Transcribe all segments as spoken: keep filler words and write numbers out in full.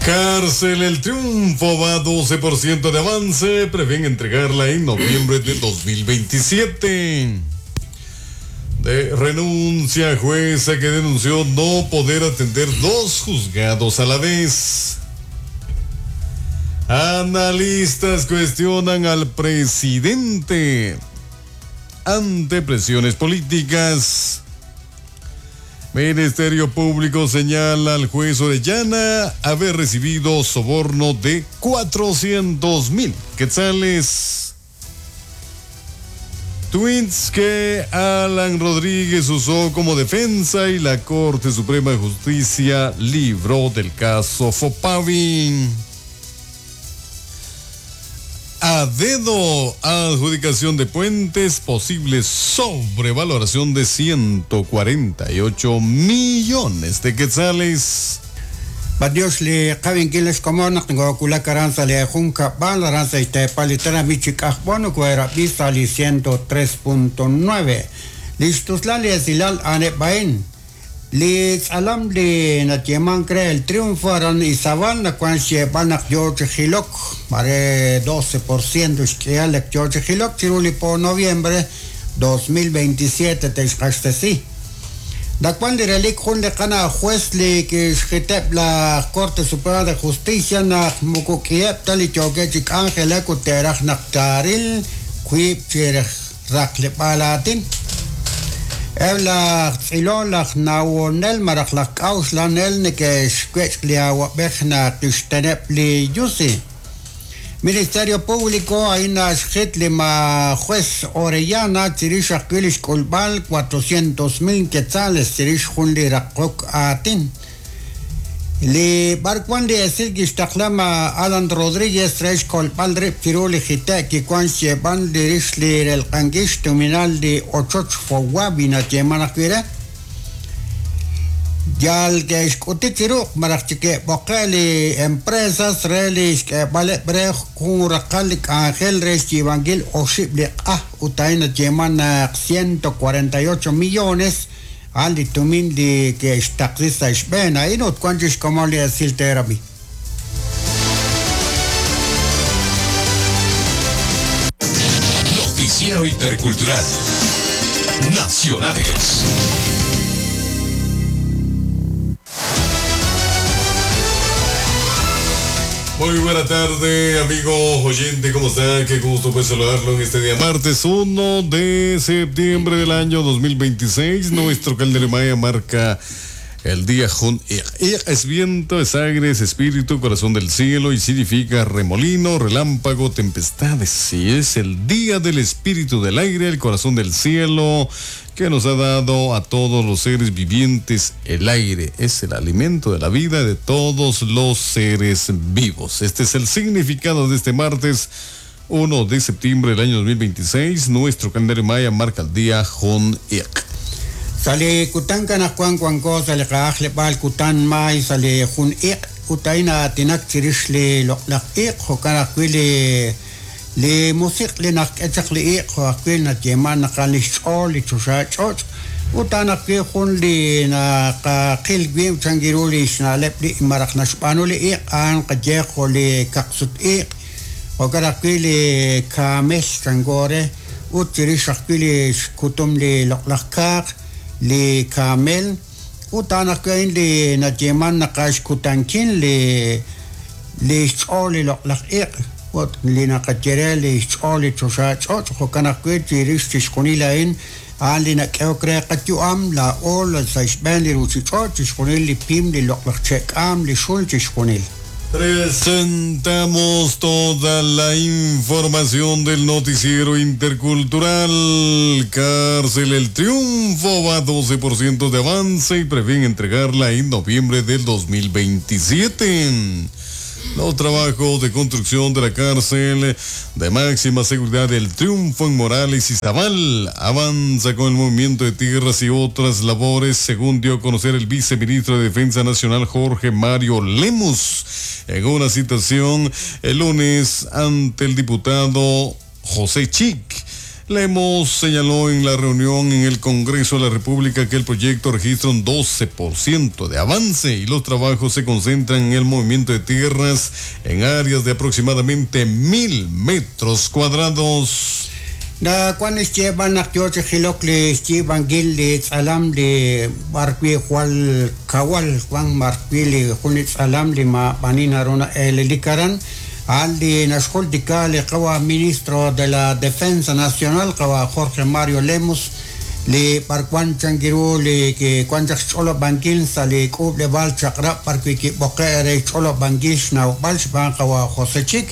Cárcel El Triunfo va doce por ciento de avance, prevén entregarla en noviembre de dos mil veintisiete. De renuncia jueza que denunció no poder atender dos juzgados a la vez. Analistas cuestionan al presidente ante presiones políticas. Ministerio Público señala al juez Orellana haber recibido soborno de cuatrocientos mil quetzales. Tweets que Alan Rodríguez usó como defensa y la Corte Suprema de Justicia libró del caso Fopavi. A dedo, adjudicación de puentes, posible sobrevaloración de ciento cuarenta y ocho millones de quetzales. Badios le qabin kiles como tengo kula caranza le junca balaranza y te palitera michicajbono cuera vista li ciento tres punto nueve. Listos la le silal ane bain. Li alam li natieman cree el triunfo aran Izabal na cuan xiebanak George Gilok mare doce por ciento xkialek George Gilok chiruli por noviembre dos mil veintisiete texcastesi. Da cuan li relik jun le kana juez li que xitep la Corte Suprema de Justicia na mukukiep tali choque chik ángel kuteraj naktaril kuip chiraj raklipalatin. Ebla tzilolaj nawonel marajlaj k'auslanel nekex liawabejna kixtenep li yusi. Ministerio Público aina xit lima juez Orellana chirix ajkuilix k'ulb'al cuatrocientos mil quetzales chirix jun li raqok atin. Li barkuan li esil kixtaqlama Alan Rodríguez rex kolb'al rib chiru li jite' kikuan xyeb'an li rix li relq'ankix tuminal li ochoch fowabi natyeman ajwi' re. Yal kexk'uti chiruq maraj chike'b'oqe li empresas re li xk'eb'aleb' re jun raqal li k'anjel re xyiib'ankil oxib' li q'aj ut a'in natyeman naq ciento cuarenta y ocho millones al tumin li que xtaqsi sa' xb'een a'in ut wan chixk'omon li esil terapi. Noticiero Intercultural Nacionales. Muy buena tarde, amigo oyente, ¿cómo está? Qué gusto pues saludarlo en este día martes uno de septiembre del año dos mil veintiséis. Nuestro calendario maya marca el día Jun Ik. Ik es viento, es aire, es espíritu, corazón del cielo y significa remolino, relámpago, tempestades. Y es el día del espíritu del aire, el corazón del cielo, que nos ha dado a todos los seres vivientes el aire. Es el alimento de la vida de todos los seres vivos. Este es el significado de este martes uno de septiembre del año dos mil veintiséis. Nuestro calendario maya marca el día Jun Ik. Sale kutan kanaj kuan kuanko, sale qaj lebal kutan may, sale jun ik, utaina tinak chirix li loqlaq ik, jokanaj kui li li musiq li naq k'echaq li ik, joaj kui na yeman naqan li xch'ool, li chuxa ch'och, utanaj kui jun li naqaqil wi changiru li xna'leb' li maraj naxb'aanu li ik, an qayejo li kaqsut ik, jokanaj kui li kaamel changore, ut chirix aj kui li xkutum li loqlaq kaaq, li kamel utanaj kui li natyeman naqax kutankin li li xch'ool li loqlaq ik ut li naqatyere li xch'ool li chuxa ch'och jo'kan ajwi' chirix chixjunil a'in a'an li nak'ehok re qayu'am la ol sa' xb'een li ruchich'och chixjunil li pim li loqlaq che'k'am li xul chixjunil. Presentamos toda la información del noticiero intercultural. Cárcel El Triunfo va doce por ciento de avance y prevén entregarla en noviembre del dos mil veintisiete. Los trabajos de construcción de la cárcel de máxima seguridad del Triunfo en Morales y Izabal avanza con el movimiento de tierras y otras labores, según dio a conocer el viceministro de Defensa Nacional Jorge Mario Lemus en una citación el lunes ante el diputado José Chic. Lemos señaló en la reunión en el Congreso de la República que el proyecto registra un doce por ciento de avance y los trabajos se concentran en el movimiento de tierras en áreas de aproximadamente mil metros cuadrados. Na cuando llevan a li tz'alam li barwi jwal kawal Juan marwi li jun tz'alam li ma banina runa elelikaran al li naxjultika li qawa ministro de la Defensa Nacional qawa Jorge Mario Lemus li barkwan changiru li que kwan ch'olo banquil sa li k'ub le bal chaqrab parwi ki boqe re ch'olo banquil xnawb'al xb'aan qawa José Chik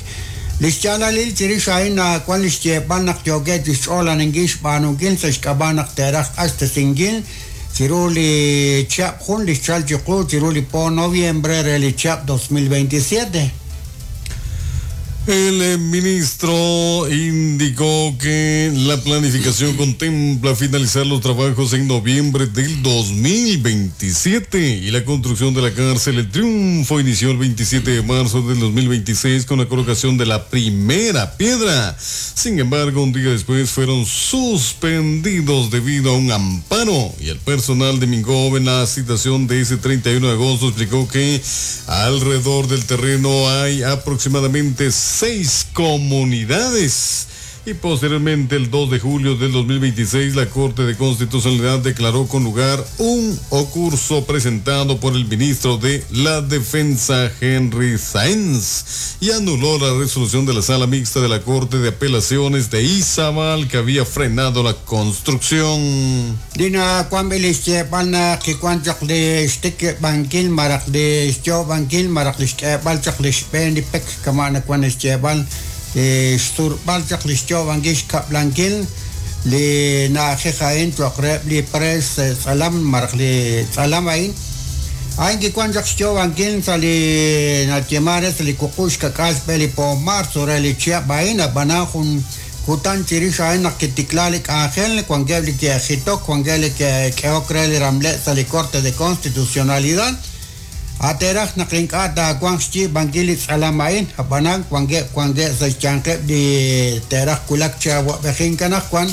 li xyaalalil chirix a'in kwan li xyeeb'al naq yookeb' chi xch'oolaninkil xb'aanunkil sa' xk'ab'a' naq teeraj q'axtesinkil chiru li chihab' jun li xchal chiqu chiru li po noviembre re li chihab' dos mil veintisiete. El ministro indicó que la planificación contempla finalizar los trabajos en noviembre del dos mil veintisiete y la construcción de la cárcel El Triunfo inició el veintisiete de marzo del dos mil veintiséis con la colocación de la primera piedra. Sin embargo, un día después fueron suspendidos debido a un amparo y el personal de Mingob en la citación de ese treinta y uno de agosto explicó que alrededor del terreno hay aproximadamente seis comunidades. Y posteriormente, el dos de julio del dos mil veintiséis, la Corte de Constitucionalidad declaró con lugar un ocurso presentado por el ministro de la Defensa, Henry Sáenz, y anuló la resolución de la Sala Mixta de la Corte de Apelaciones de Izabal que había frenado la construcción. Dina xturb'al chaq li xyoob'ankil xkab'lankil li na'ajej a'in cho'q li pres tz'alam maraj li tz'alam a'in a'in kikuan chaq xyoob'ankil sa' li natyemare sa' li kuqux xkak'al xb'e li po marzo re li chihab' a'in ab'anan jun kutan chirix a'in naq kitikla li k'anjel wankeb' li ke'jitok wankeb' li ke'k'ehok re li ramle' sa' li Corte de Constitucionalidad ateraj naq ink'a' taawanq xyiib'ankil li tz'alam a'in ab'anan wankeb' wankeb' sa' xyanqeb' li teeraj kulak chi awab'ejin kanajwan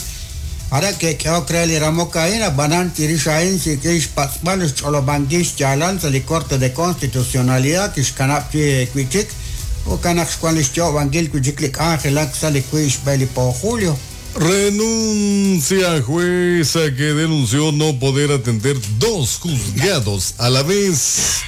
ara ke'k'ehok re li ramok a'in ab'anan chirix a'in sik'in xpatz'b'al xch'olob'ankil xyaalal sa' li Corte de Constitucionalidad kixkanab' chi wi'chik jo'kan naq xwan li xyoob'ankil wi'chik li k'anjelak sa' li wi' xb'e li po julio. Renuncia jueza que denunció no poder atender dos juzgados a la vez.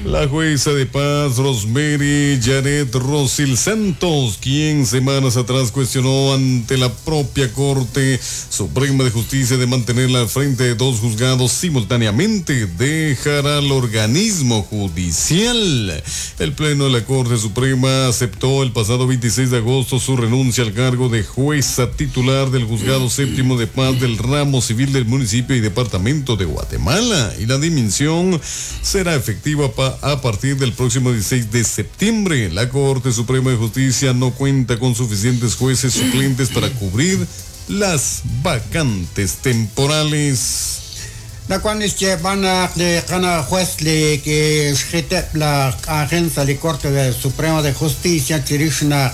La jueza de paz Rosemary Janet Rosil Santos, quien semanas atrás cuestionó ante la propia Corte Suprema de Justicia de mantenerla al frente de dos juzgados simultáneamente, dejará al organismo judicial. El Pleno de la Corte Suprema aceptó el pasado veintiséis de agosto su renuncia al cargo de jueza titular del Juzgado Séptimo de Paz del Ramo Civil del municipio y departamento de Guatemala, y la dimisión será efectiva a partir del próximo dieciséis de septiembre. La Corte Suprema de Justicia no cuenta con suficientes jueces suplentes para cubrir las vacantes temporales. La cual es que van a ganar juez le que la agencia de Corte Suprema de Justicia chirishna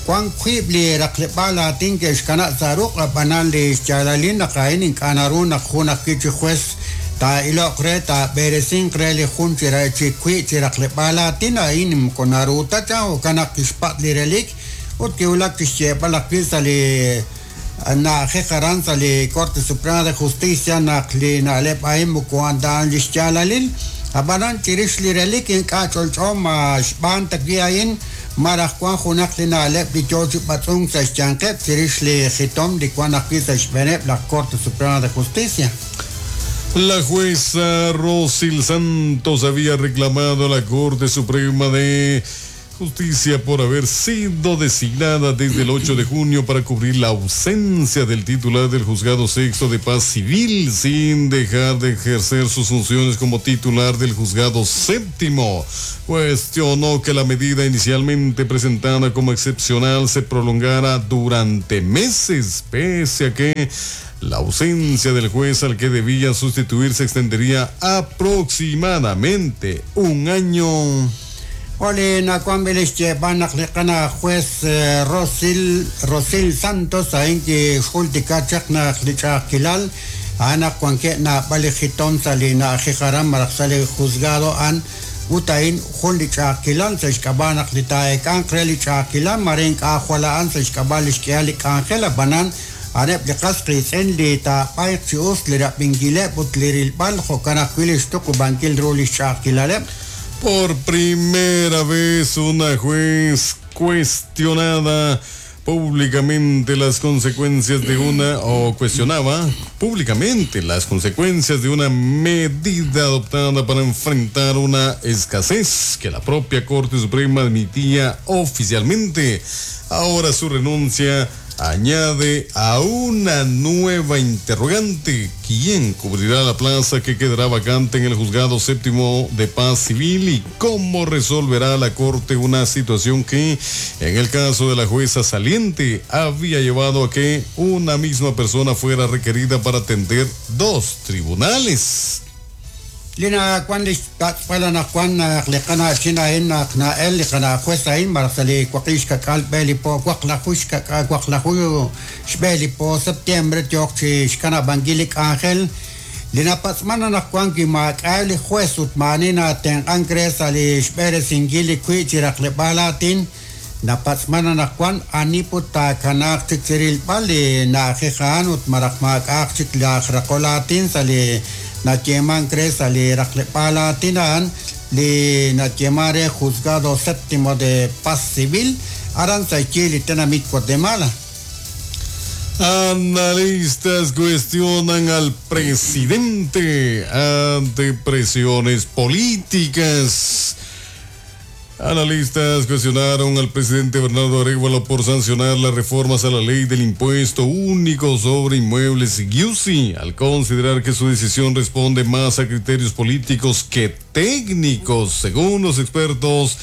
Juan Quibli raqlebala tinke xkana zaruq banal le chalalin qain kanaruna juna kichi juez ta iloq re ta beresin re li jun chira chi kwi chi raqlebala tina in konaruta cha o kana kixpat li relik ut kiulak tixyeb'al ajwi' sa' li na'ajej aran sa' li Corte Suprema de Justicia naq li na'leb' a'in moko a'an li xyaalalil ab'anan chirix li relik ink'a' ch'olch'o ma xb'aan ta wi' a'in maraj wan junaq li na'leb' li yoo chi b'atz'unk sa' xyanqeb' chirix li jitom li wan ajwi' sa' xb'eeneb' la Corte Suprema de Justicia. La jueza Rosil Santos había reclamado a la Corte Suprema de Justicia por haber sido designada desde el ocho de junio para cubrir la ausencia del titular del Juzgado Sexto de Paz Civil sin dejar de ejercer sus funciones como titular del Juzgado Séptimo. Cuestionó que la medida inicialmente presentada como excepcional se prolongara durante meses, pese a que la ausencia del juez al que debía sustituir se extendería aproximadamente un año. Oli nakuan b'ilix xyeeb'al naq li qana juez Rosil Rosil Santos a'in kixjultika chaq naq li ch'a'ajkilal a'an naq wankeb' naab'al li jitom sa' li na'ajej aran malaj sa' li juzgado a'an ut a'in jun li ch'a'ajkilal sa' xk'ab'a' naq li taa'eek'anq re li ch'a'ajkilal mare ink'a' jwal a'an sa' xk'ab'a' li xk'ihal li k'anjel ab'anan a'aneb' li qas qiitz'in li taab'ayq chi us li rab'inkileb' ut li rilb'al jo'kan ajwi' li xtuqub'ankil ru li xch'a'ajkilaleb'. Por primera vez una juez cuestionada públicamente las consecuencias de una, o cuestionaba públicamente las consecuencias de una medida adoptada para enfrentar una escasez que la propia Corte Suprema admitía oficialmente. Ahora su renuncia añade a una nueva interrogante: ¿quién cubrirá la plaza que quedará vacante en el Juzgado Séptimo de Paz Civil y cómo resolverá la Corte una situación que, en el caso de la jueza saliente, había llevado a que una misma persona fuera requerida para atender dos tribunales? Lina kwan li xpatz'b'al anaqwan naq li qana chin a'in naq na'el li qana juez a'in malaj sa' li waqix kak'al b'e li po waqlaju xkak'al waqlaju xb'e li po septiembre yooq chi xkanab'ankil li k'anjel li napatz'man anaqwan wi maak'a' li juez ut maani natenq'ank re sa' li xb'eresinkil li kwi' chi raqleb'aal aatin napatz'man anaqwan ani put taakanaaq chik chi rilb'al li na'ajej a'an ut malaj maak'a'aq chik laj raqol aatin sa' li nayeeman re sa' li raqleb'aal aatin a'an li nayeeman re Juzgado Séptimo de Paz Civil aran sa' xyi li tenamit Guatemala. Analistas cuestionan al presidente ante presiones políticas. Analistas cuestionaron al presidente Bernardo Arévalo por sancionar las reformas a la ley del impuesto único sobre inmuebles I U S I, al considerar que su decisión responde más a criterios políticos que técnicos. Según los expertos,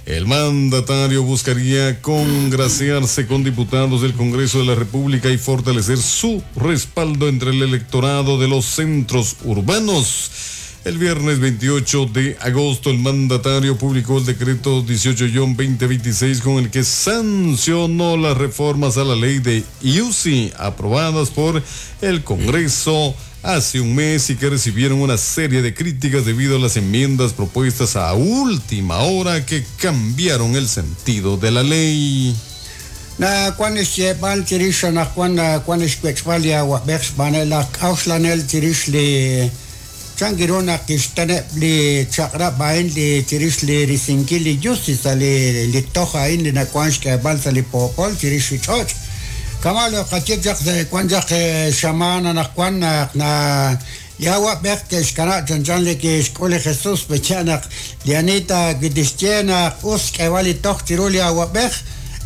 el mandatario buscaría congraciarse con diputados del Congreso de la República y fortalecer su respaldo entre el electorado de los centros urbanos. El viernes veintiocho de agosto, el mandatario publicó el decreto dieciocho guion veinte veintiséis con el que sancionó las reformas a la ley de I U S I aprobadas por el Congreso hace un mes y que recibieron una serie de críticas debido a las enmiendas propuestas a última hora que cambiaron el sentido de la ley. Na kwan xyeeb'al chirix anaqwan na kwan xwech'b'al li awab'ej xb'aan laj k'awxlanel chirix li chankiru naq kixteneb' li chaq'rab' a'in li chirix li risinkil li I U S I sa' li li toj a'in li nakuan xk'eeb'al sa' li poopol chirix li ch'och'. Kama lo qaye chaq sa' kwan chaq xamaan anaqwan naq na li awab'ej ke'xkana' chanchan li kixk'ul li Jesus pecha naq li anita kitixye naq us xk'eeb'al li toj chiru li awab'ej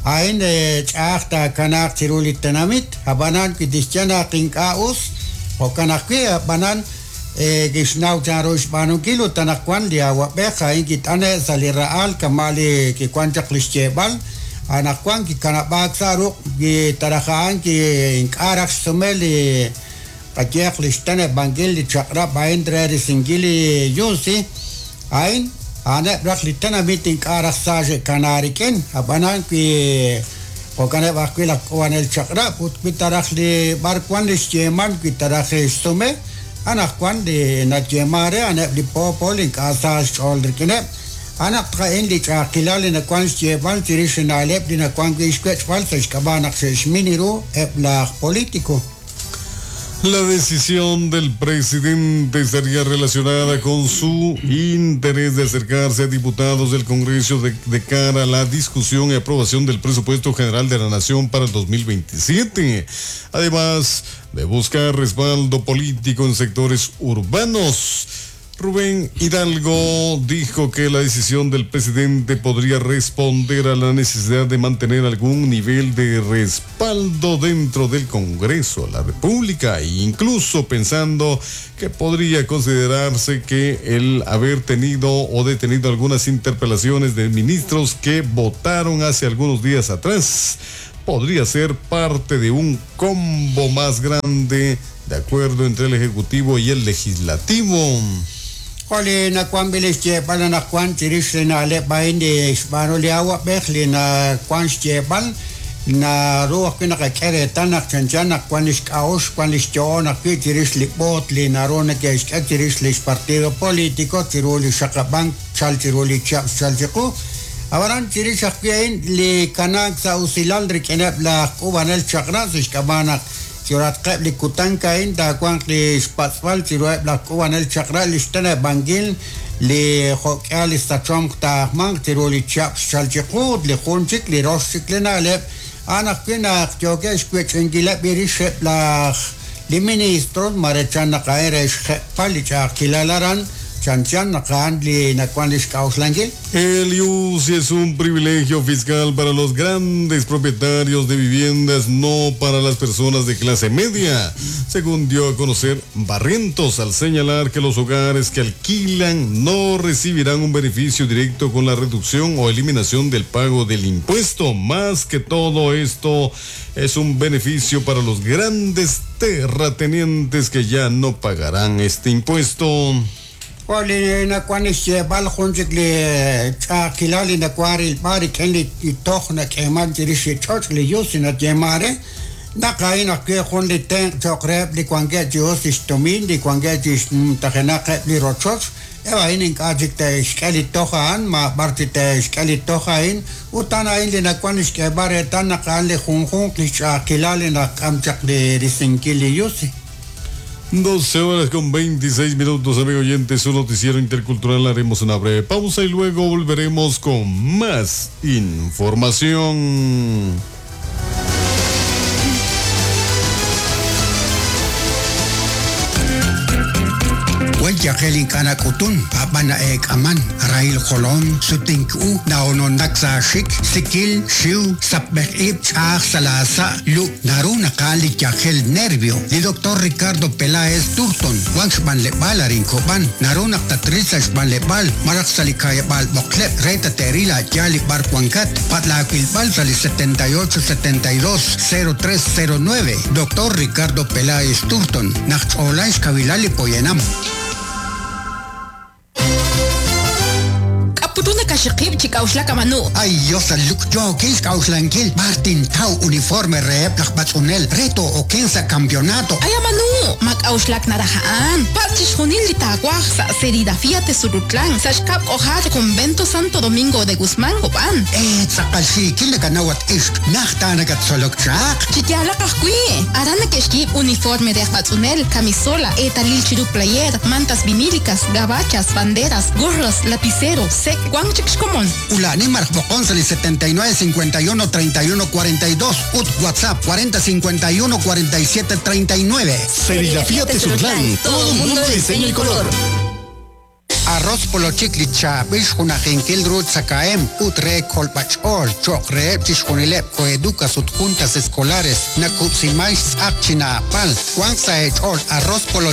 a'in ch'a'aj taakanaaq chiru li tenamit ab'anan kitixye naq ink'a' us jo'kan ajwi' ab'anan kixnaw chanru xb'aanunkil ut anaqwan li awab'ej a'in kit'ane' sa' li ra'al kama' li kikuan chaq li xyeeb'al anaqwan kikanab'aak sa' ruq' kitaraj a'an ki ink'a' raj xsume li qayeeq li xteneb'ankil li chaq'rab' a'in re risinkil li I U S I a'in a'aneb' raj li tenamit ink'a' raj sa' xe'kana rik'in ab'anan wi jo'kaneb' ajwi' laj k'uwanel chaq'rab' ut wi taraj li b'arwan li xyeeman wi taraj xsume anaqwan li nayeeman re a'aneb' li poopol ink'a' sa' xch'ool rik'ineb' anaq tqa'in li ch'a'ajkilal li nakuan xyeeb'al chirix li na'leb' li nakuan wi' xwech'b'al sa' xk'ab'a' naq xe'xmin ru eb' laj político. La decisión del presidente estaría relacionada con su interés de acercarse a diputados del Congreso de, de cara a la discusión y aprobación del presupuesto general de la Nación para el dos mil veintisiete. Además de buscar respaldo político en sectores urbanos. Rubén Hidalgo dijo que la decisión del presidente podría responder a la necesidad de mantener algún nivel de respaldo dentro del Congreso de la República, e incluso pensando que podría considerarse que el haber tenido o detenido algunas interpelaciones de ministros que votaron hace algunos días atrás podría ser parte de un combo más grande de acuerdo entre el Ejecutivo y el Legislativo. Joli nakuan bilix yeeb'al anaqwan chirix li na'leb' a'in li xb'aanu li awab'ej li nakuan xyeeb'al naru ajwi' naqak'e reetal naq chanchan naq wan li xk'a'uxl wan li xyo'on ajwi' chirix li b'oot li naru neke'xk'e chirix li xpartido político chiru li xaqab'ank chal chiru li chihab' xchal chiqu. Ab'anan chirix ajwi' a'in li kanaak sa' usilal rik'ineb' laj k'uub'anel chaq'rab' sa' xk'ab'a' naq chiruhatqeb' li kutan a'in taawanq li xpatz'b'al chiruheb' laj k'uub'anel chaq'rab' li xteneb'ankil li jo'k'ihal li sachomq taajmanq chiru li chihab' xchal chiqu ut li jun chik li rox chik li na'leb' a'an ajwi' naq yookeb' xwech'inkileb' rixeb' laj li ministros mare chan naq a'in re xjeb'al li ch'a'ajkilal aran chanchan naq a'an li nakuan li xk'a'uxlankil. El I U C I es un privilegio fiscal para los grandes propietarios de viviendas, no para las personas de clase media, según dio a conocer Barrientos al señalar que los hogares que alquilan no recibirán un beneficio directo con la reducción o eliminación del pago del impuesto. Más que todo esto es un beneficio para los grandes terratenientes que ya no pagarán este impuesto. Joli nakuan xyeeb'al jun chik li ch'a'ajkilal li nakuan rilb'al rik'in li toj nak'eeman chirix li ch'och' li yus nayeeman re naq a'in ajwi' jun li tenq' cho'q reheb' li wankeb' chi us li xtumin li wankeb' chi xnumtajenaqeb' li rochoch eb' a'in ink'a' chik te'xk'e li toj a'an ma b'ar chi te'xk'e li toj a'in ut a'an a'in li nakuan li xk'eeb'al reetal naq a'an li junjunq li xch'a'ajkilal li nak'am chaq li risinkil li yusi. doce horas con veintiséis minutos, amigo oyente, su noticiero intercultural. Haremos una breve pausa y luego volveremos con más información. Yajel ink'a' nak'utun ab'an na'eek'aman rahil jolom sutink u na'ononnak sa' xik sikil xiw sapb'ej ib' ch'aj sa' la sa' lu naru naqa'an li yajel nervio. Li doctor Ricardo Peláez Turton wan xb'anleb'aal arin Kob'an naru naq tatril sa' xb'anleb'aal malaj sa' li ka'yab'aal b'oqleb' re tate'ril a'yaal li b'ar wankat patlaawilb'al sa' li setenta y ocho setenta y dos cero tres cero nueve. Doctor Ricardo Peláez Turton naq ch'oolan xkawilal li poyanam. Kaxiqib' chi k'a'uxlak amanu. Ay, Dios, luk yookil xk'a'uxlankil Martin Tau uniforme reheb' laj b'atz'unel reto oken sa' campeonato. Ay, amanu, ma k'a'uxlak naraja'an. Patz' chixjunil li taawaj sa' serigrafía Tesurutlan, sa' xkab' k'ojal Convento Santo Domingo de Guzmán Kob'an. Eh, tz'aqal xiikil nakanawat ixq najta nakatzolok chaq. Chi yaalaq ajwi'. Aran neke'xyiib' uniforme de aj b'atz'unel, camisola, eetalil chiru player, mantas vinílicas, gabachas, banderas, gorros, lapicero, sek, wan chik xkomon. Ulani maraj b'oqon sa' li setenta y nueve cincuenta y uno treinta y uno cuarenta y dos ut WhatsApp cuarenta cincuenta y uno cuarenta y siete treinta y nueve. Serigrafía Tesurlán, todo un mundo de diseño y color. Arroz polochik li chaab'il xjunajinkil ru tzakahem ut re kolb'ach'ool cho'q reheb' chixjunileb' coeducas ut juntas escolares nakub'siman xtz'aq chinaapal wan sa' ech'ool arroz polo